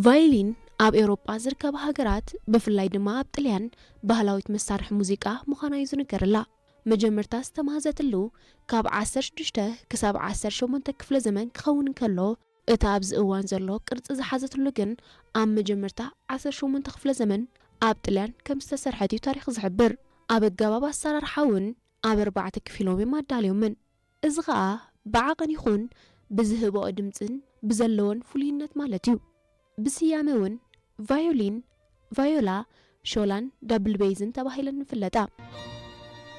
ቫዮሊን ኣብ ኤውሮጳ ዝርከባ ሃገራት፣ ብፍላይ ድማ ኣብ ጥልያን፣ ባህላዊት መሳርሒ ሙዚቃ ምዃና እዩ ዝንገረላ። መጀመርታ ዝተማህዘትሉ ካብ ዓሰርተ ሽዱሽተ ክሳብ ዓሰርተ ሸሞንተ ክፍለ ዘመን ክኸውን እንከሎ፣ እቲ ኣብዚ እዋን ዘሎ ቅርጺ ዝሓዘትሉ ግን ኣብ መጀመርታ ዓሰርተ ሸሞንተ ክፍለ ዘመን ኣብ ጥልያን ከም ዝተሰርሐት እዩ ታሪኽ ዝሕብር። ኣብ ኣገባብ ኣሰራርሓ እውን ኣብ ኣርባዕተ ክፊሎም እዮም ኣዳልዮምን። እዚ ኸኣ ብዓቐን ይኹን ብዝህብኦ ድምጽን ብዘለወን ፍሉይነት ማለት እዩ። ብስያመ እውን ቫዮሊን፣ ቫዮላ፣ ሾላን ዳብል ቤዝን ተባሂለን ይፍለጣ።